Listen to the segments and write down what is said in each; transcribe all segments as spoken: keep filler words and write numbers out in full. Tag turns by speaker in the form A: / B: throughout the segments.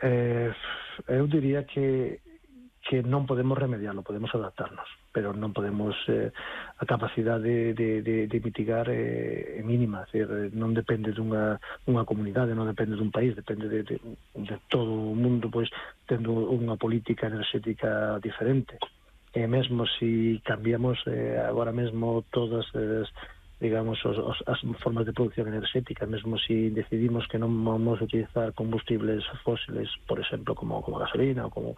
A: Eh, eu diría que que non podemos remediarlo, podemos adaptarnos, pero non podemos, eh, a capacidade de, de, de mitigar é eh, mínima, é decir, non depende dunha, unha comunidade, non depende dun país, depende de, de, de todo o mundo, pois, tendo unha política enerxética diferente. E mesmo se si cambiamos eh, agora mesmo todas as, digamos, os, os, as formas de producción enerxética, mesmo se si decidimos que non vamos a utilizar combustibles fósiles, por exemplo, como, como a gasolina ou como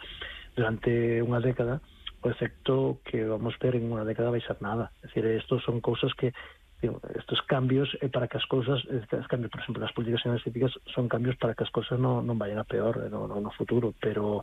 A: durante unha década, o efecto que vamos ver en unha década vai ser nada. É dicir, estos son cousas que, digo, estos cambios é para que as cousas, estos cambios, por exemplo, nas políticas energéticas son cambios para que as cousas non, non vayan a peor no, no, no futuro, pero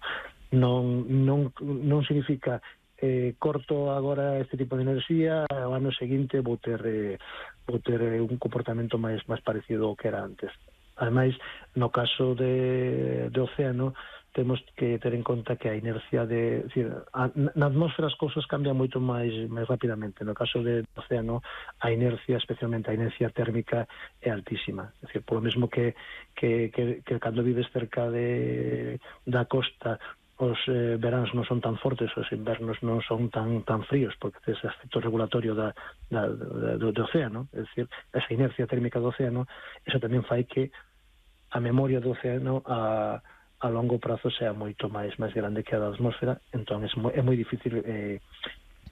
A: non, non, non significa eh, corto agora este tipo de enerxía, o ano seguinte vou ter, eh, vou ter eh, un comportamento máis, máis parecido ao que era antes. Ademais, no caso de, de océano, temos que ter en conta que a inercia de, decir, a, na atmósfera as cousas cambian moito máis máis rapidamente. No caso do océano, a inercia, especialmente a inercia térmica, é altísima. É dicir, por lo mesmo que, que, que, que cando vives cerca de, da costa, os eh, veráns non son tan fortes, os invernos non son tan tan fríos, porque tes efecto regulatorio da, da, da, do, do océano. É dicir, esa inercia térmica do océano, eso tamén fai que a memoria do océano a a longo prazo sea moito máis máis grande que a da atmósfera, entón é moi, é moi difícil eh,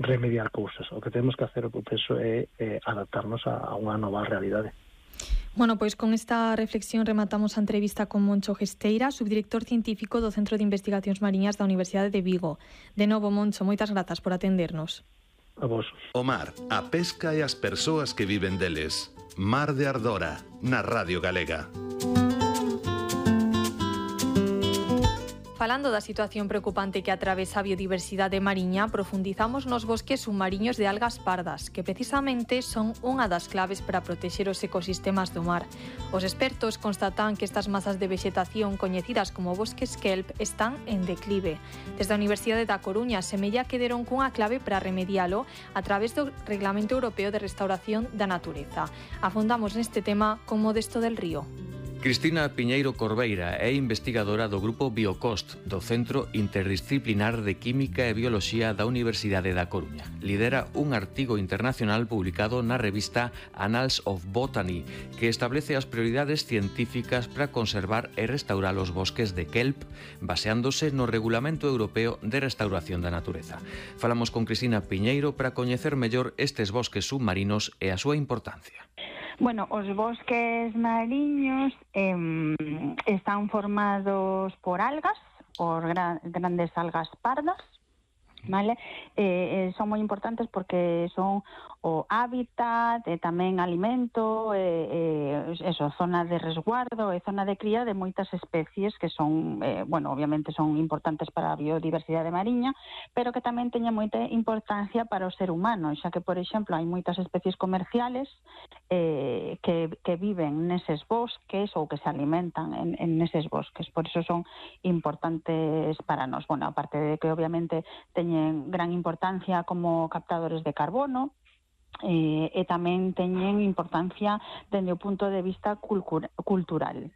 A: remediar cousas. O que temos que hacer, o que penso, é eh, adaptarnos a, a unha nova realidade.
B: Bueno, pois con esta reflexión rematamos a entrevista con Moncho Gesteira, subdirector científico do Centro de Investigacións Mariñas da Universidade de Vigo. De novo, Moncho, moitas grazas por atendernos.
A: A vos.
C: O mar, a pesca e as persoas que viven deles. Mar de Ardora, na Radio Galega.
B: Falando da situación preocupante que atravesa a biodiversidade mariña, profundizamos nos bosques submariños de algas pardas, que precisamente son unha das claves para protexer os ecosistemas do mar. Os expertos constatan que estas masas de vexetación coñecidas como bosques kelp están en declive. Desde a Universidade da Coruña semella que deron cunha clave para remedialo a través do Reglamento Europeo de Restauración da Natureza. Afondamos neste tema con Modesto del Río.
D: Cristina Piñeiro Corbeira é investigadora do Grupo Biocost do Centro Interdisciplinar de Química e Bioloxía da Universidade da Coruña. Lidera un artigo internacional publicado na revista Annals of Botany que establece as prioridades científicas para conservar e restaurar os bosques de kelp baseándose no Regulamento Europeo de Restauración da Natureza. Falamos con Cristina Piñeiro para coñecer mellor estes bosques submarinos e a súa importancia.
E: Bueno, os bosques mariños eh, están formados por algas, por gra- grandes algas pardas, ¿vale? Eh, eh, son moi importantes porque son o hábitat, e tamén alimento, eh, eh, eso, zona de resguardo e zona de cría de moitas especies que son, eh, bueno, obviamente son importantes para a biodiversidade mariña, pero que tamén teñen moita importancia para o ser humano, xa que, por exemplo, hai moitas especies comerciales eh, que, que viven neses bosques ou que se alimentan en, en neses bosques, por iso son importantes para nós. Bueno, aparte de que obviamente teñen gran importancia como captadores de carbono, Eh, e tamén teñen importancia dende o punto de vista culcura, cultural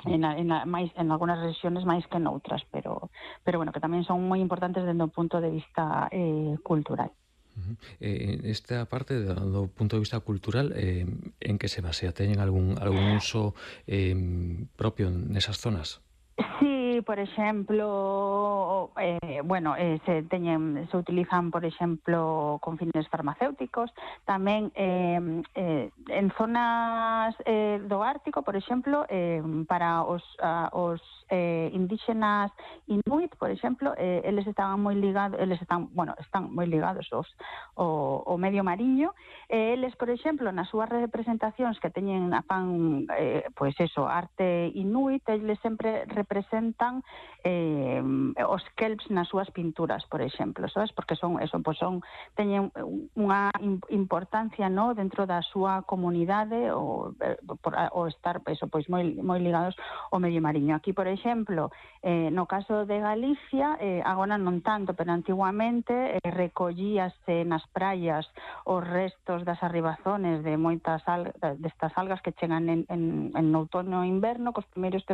E: en, a, en, a, máis, en algunas regiones máis que noutras, pero, pero bueno, que tamén son moi importantes dende o punto de vista eh, cultural.
D: Uh-huh. Eh, esta parte do, do punto de vista cultural, eh, en que se basea? Teñen algún, algún uso eh, propio nesas zonas?
E: Sí, por exemplo, eh, bueno, eh, se teñen, se utilizan, por exemplo, con fines farmacéuticos, tamén eh, eh, en zonas eh, do Ártico, por exemplo, eh, para os, a, os eh, indígenas inuit, por exemplo, eh, eles estaban moi ligados, eles están, bueno, están moi ligados aos o, o medio mariño, e eles, por exemplo, nas súas representacións que teñen a fan, eh, pois eso, arte inuit, eles sempre representan eh, os kelps nas súas pinturas, por exemplo, sabes? Porque son eso, pois son teñen unha importancia, no, dentro da súa comunidade ou por o estar eso, pois moi moi ligados ao medio mariño. Aquí, por exemplo, eh, no caso de Galicia, eh, agora non tanto, pero antiguamente eh, recollíase nas praias os restos das arribazones de moitas al, destas algas que chegan en, en, en outono e inverno, cos primeiros tem,